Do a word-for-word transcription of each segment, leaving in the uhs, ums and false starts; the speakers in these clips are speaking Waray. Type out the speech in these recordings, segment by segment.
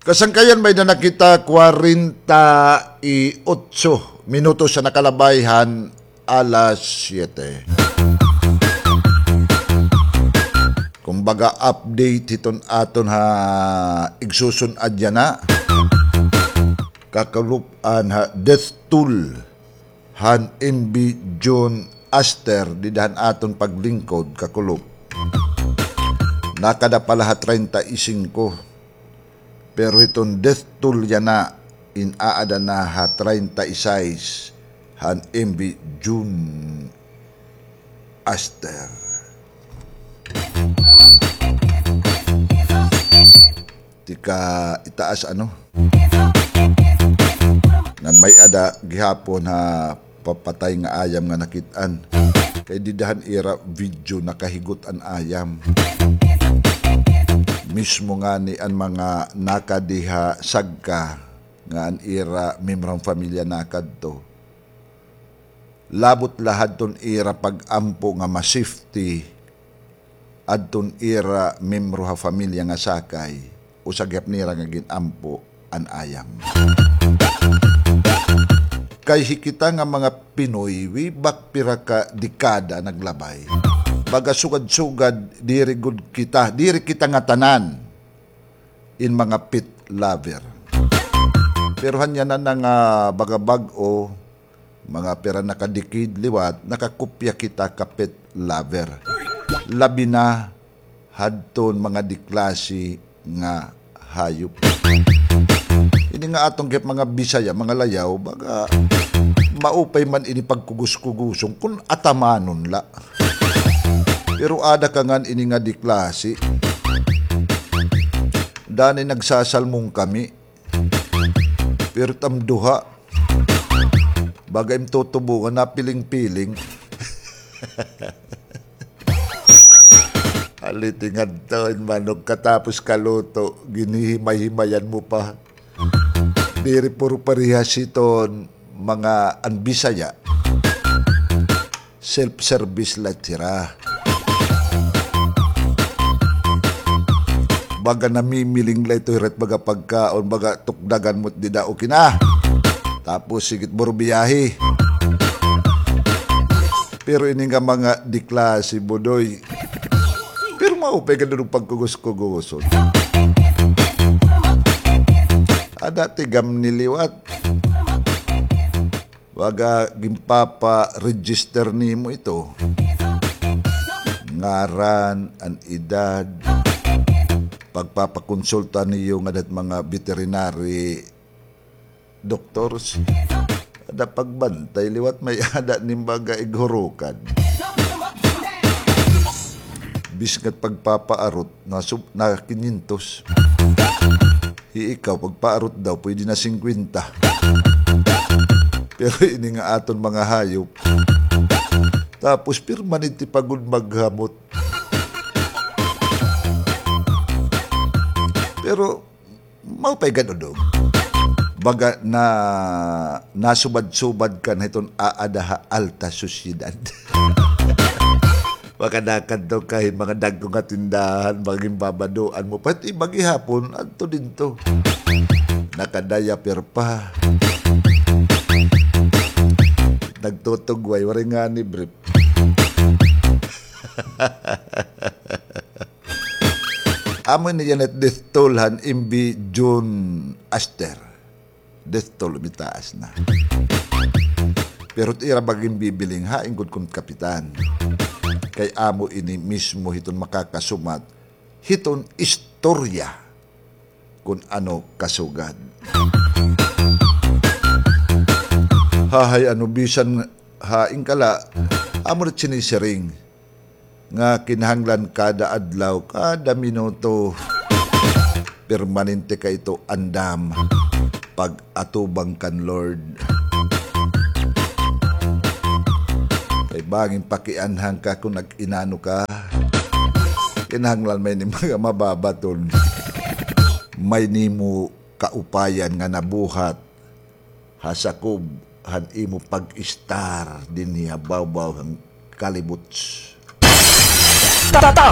Kasangkayan, may-ada na kita kwarenta y otso minutos an nakalabay han alas siyete. Kumbaga, update hiton aton ha igsusun-ad yana. Kakulop-an ha death toll han M V June Aster dida han aton paglingkod, kakulop. Nakada pa la ha treinta y cinco. Pero hiton death toll yana, in-aada na ha treinta y seis han M V June Aster. Tika itaas, ano? Ngan may-ada gihapon ha papatay nga ayam nga nakit-an. Kay dida han ira video nakahigot an ayam. Mismo ngani an mga nakadi ha sagka nga an ira miyembro han pamilya nakadto. Labot la hadton ira pag-ampo nga ma-safety adton ira miyembro ha pamilya nga sakay, usa gihap nira nga gin-ampo an ayam. Kay hi kita nga mga Pinoy, way back pira ka dekada naglabay, baga sugad-sugad, diri gud kita, diri kita ngatanan in mga pet lover. Pero han yana na nga baga bag-o, mga pira na ka decade liwat, nakakopya kita ka pet lover. Labi na hadton mga diklase nga hayop. Ini nga aton gihap mga Bisaya, mga layaw, baga maupay man ini pagkugos-kugoson kun atamanon la. Pero ada ka ngan ini nga diklase. Danay nagsasalmong kami. Pero it am duha, baga im tutubo nga napiling-piling. Haliti ngadto, in manok katapos kaluto, ginhihimay-himayan mo pa. Diri puro parehas hiton mga an Bisaya. Self-service la it hira. Baga namimiling la ito hira it baga pagkaon, baga tukdagan mo it dida, okay na. Tapos sige it burubiyahe. Pero ini nga mga diklase, Budoy. Pero maupay gad an pagkugos-kugoson. Ada tigam ni liwat. Baga ginpapa-register nimo ito. Ngaran, an edad, pagpapakonsulta niyo ngada hit mga veterinary doctors. Ada pagbantay liwat, may-ada nim baga ighurukan. Bisan it pagpapaarot, na sub-, na kinyentos. Hi ikaw, pagpaarot daw, pwede na singkwenta. Pero ini nga aton mga hayop. Tapos, permanente pa gud maghamot. Pero, maupay gad, Dodong. Baga na, nasubad-subad ka na hiton aada ha alta sosyedad. Baka nakadto ka hin mga dagko nga tindahan, baka ginbabadoan mo. Pati iba gihapon, adto dinto. Naka-diaper pa. Nagtutugway, waray ngani brief. Amo ini yana it death toll han M V June Aster. Death toll, mitaas na. Pero it ira ba ginbibiling, hain gud kon kapitan. Kay amo ini mismo hiton makakasumat hiton istorya kon ano kasugad. Hahay, ano, bisan hain ka la, amo it sinisiring nga kinahanglan kada adlaw, kada minuto, permanente ka ito andam pag-atubang kan Lord. Kay bangin pakianhan ka kon nag-inano ka, kinahanglan may ni mga mababaton. May nimo kaupayan nga nabuhat ha sakob han imo pag-istar dinhi ha bawbaw han kalibuts. Tata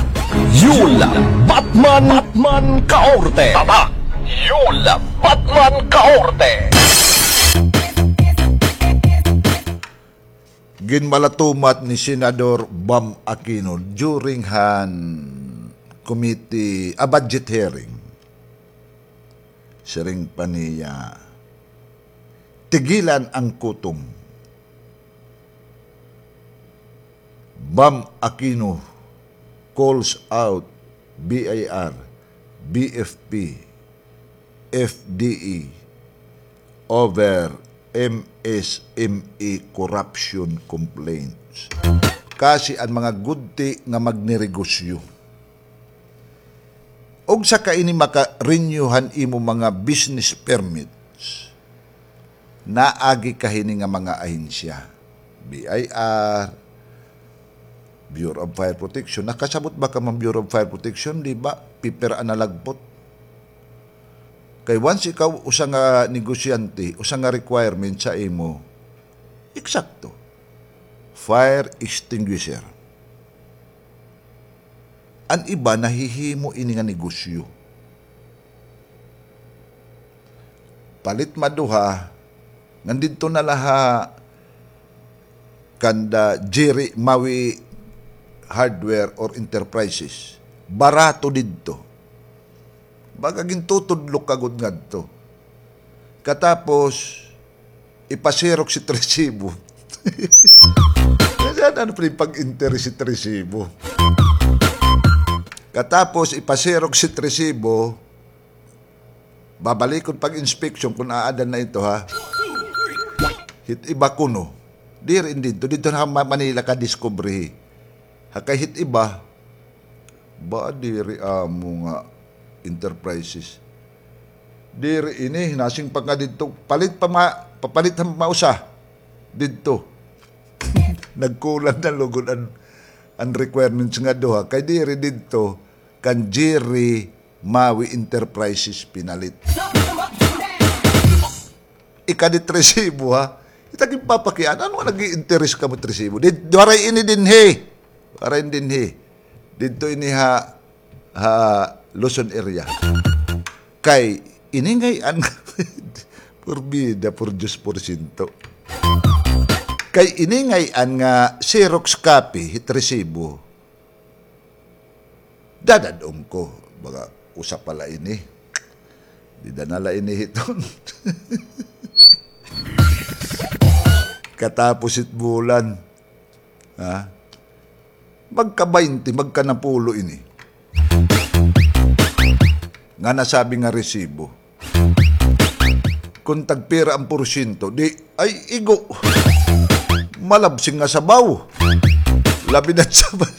Yul Batman, Batman Kaorte. Tata Yul Labat man kaorte. Ginmalatumat ni Senador Bam Aquino during han committee, a budget hearing. Siring pa niya, "Tigilan ang kutom." Bam Aquino calls out B I R, B F P, F D E over M S M E corruption complaints. Kasi an mga gudti nga magnegosyo, ug saka ini maka-renew han imo mga business permits, naagi ka hini nga mga ahensya, B I R, Bureau of Fire Protection. Nakasabot ba ka man Bureau of Fire Protection? Di ba? Paper an nalagpot. Kay once ikaw usa nga negosyante, usa nga requirement sa imo, eksakto, fire extinguisher. An iba nahihimo ini nga negosyo. Palit maduha, ngan didto na la ha kanda Jerry Mawi Hardware or Enterprises. Barato didto. Baga gintutudlok ka gud ngadto. Katapos, ipa-xerox it resibo. Nasaan ano pa pag-interest it resibo? Katapos, ipa-xerox it resibo, babalikon pag-inspection kun aada na ito, ha? Hit iba kuno. Diri in didto. Didto ha Ma-, Manila ka diskubrihi. Ha kay hit iba, ba, diri amo nga enterprises. Diri ini, nasing pa nga didto, palit pa ma-, papalit ha mausa didto. Nagkulang na lugod an, an requirements nga duha. Kay diri didto, kan Jerry Mawi Enterprises pinalit. Ikadit resibo, ha? Ita ginpapakian, ano nga nag-i-interes kamo it resibo? Di, waray ini dinhi. Waray dinhi. Didto ini ha, ha Luzon area. Kay ini ngay-an, porbida, por Diyos, porsyento. Kay ini ngay-an nga Xerox copy, hit resibo. Dadad-on ko, baga usa pa la ini. Dida na la ini hiton. Katapos it bulan, ha? Magka-baynte, magka-napulo ini. Nga nasabi nga resibo. Kun tagpira an porsyento, di, ay, igo. Malabsing nga sabaw. Labi na sabaw.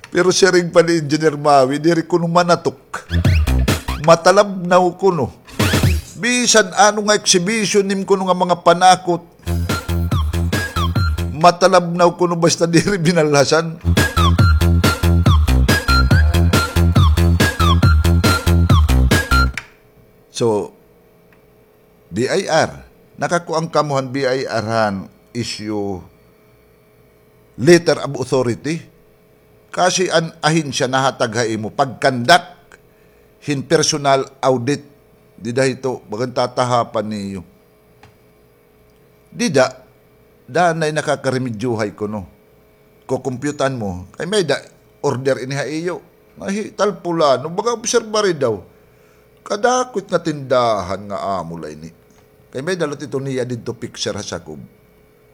Pero siring pa ni Engineer Mawi, diri kuno manatok. Matalabnaw kuno. Bisan ano nga exhibition nim kuno nga mga panakot, matalabnaw kuno basta diri binalhasan. So, B I R, nakakuan kamo han B I R han issue letter of authority. Kasi an ahensya nahatag ha imo pag-conduct hin personal audit. Dida hito, bagan tatahapan niyo. Dida, danay nakakarimedyohay kuno. Kukumpyutan mo, kay may-ada order ini ha iyo. Nga hi tal pulano, baga obserbari daw. Kadako it nga tindahan nga amo la ini. Kay may-ada la ito niya didto picture ha sakob.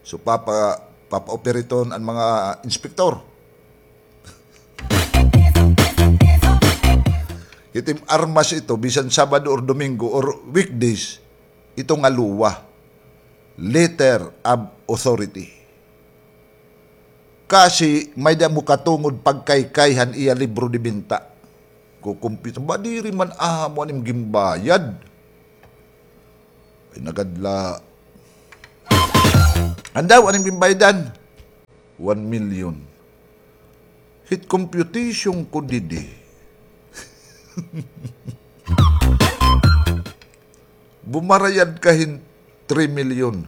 So, papa-, papa-operaton an mga inspektor. Hit im armas ito, bisan Sabado or Domingo or weekdays, ito nga luwa, letter of authority. Kasi may-ada mo katungod pagkaykay han iya libro de benta. Kukumpit, ba diri man amo an im ginbayad. Ay, nagadla. Andaw, an im ginbayadan? One million. Hit computation ko didi. Bumarayad ka hin three million.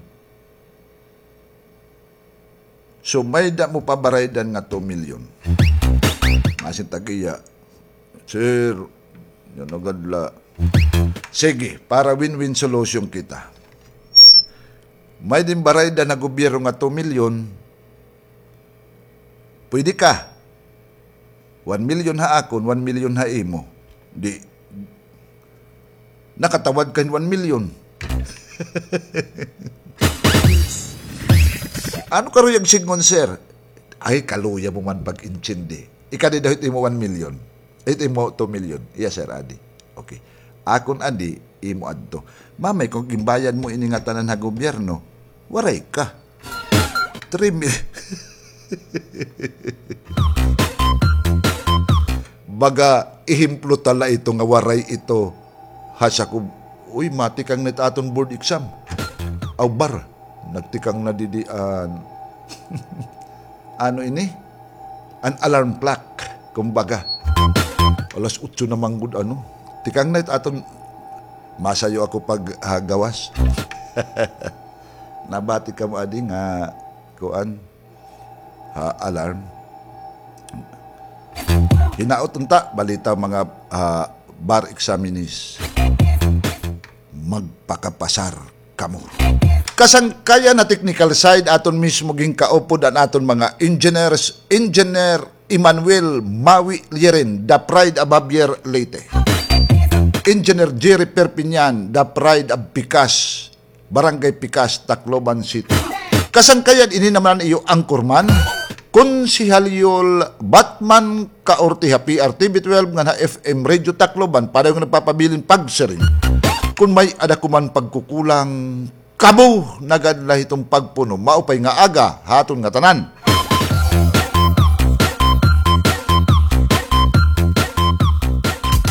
So, may-ada mo pabaraydan nga two million. Masin tag-iya, Sir, yun agad la. Sige, para win-win solution kita. May din barayda na gobyerno nga two million. Pwede ka. One million ha akon, one million ha imo. Di, nakatawad ka hin one million. Ano ka ruyag sidngon, sir? Ay, kaluya mo man pag-intindi. Ikadi daw it imo one million. It imo two million. Yes, sir, adi. Okay. Akon adi, imo adto. Mamay, kung ginbayad mo ini nga tanan ha gobyerno, waray ka. Three mil. Baga, ehemplo tala ito nga waray ito. Hasa ko, uy, matikang na it aton board exam. Aw, bar, nagtikang na didi an, ano ini? An alarm clock, kumbaga. Alas otso na man gud, ano. Tikang na it aton, masayo ako pag, ah, gawas. Nabati kamo adi nga, kuan, ha, alarm. Hinaot unta, balita mga, ah, bar examinees. Magpakapasar kamo. Kasangkayan ha technical side, aton mismo ginkaupod an aton mga engineers, Engineer Emmanuel Mawi Liren, the pride of Javier, Leyte. Engineer Jerry Perpignan, the pride of Pikas, Barangay Pikas, Tacloban City. Kasangkayan ini naman an iyo anchorman, Konsehal Yul Batman Kaorte ha P R T V twelve ngan ha F M Radio Tacloban, padayon nga nagpapabilin pagsiring. Kon may-ada ko man pagkukulang, kamo na gad la hiton pagpuno. Maupay nga aga ha aton ngatanan.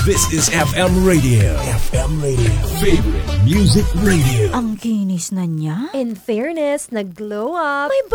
This is F M Radio. F M Radio. Favorite Music Radio. Ang kinis na niya. In fairness, nag-glow up. May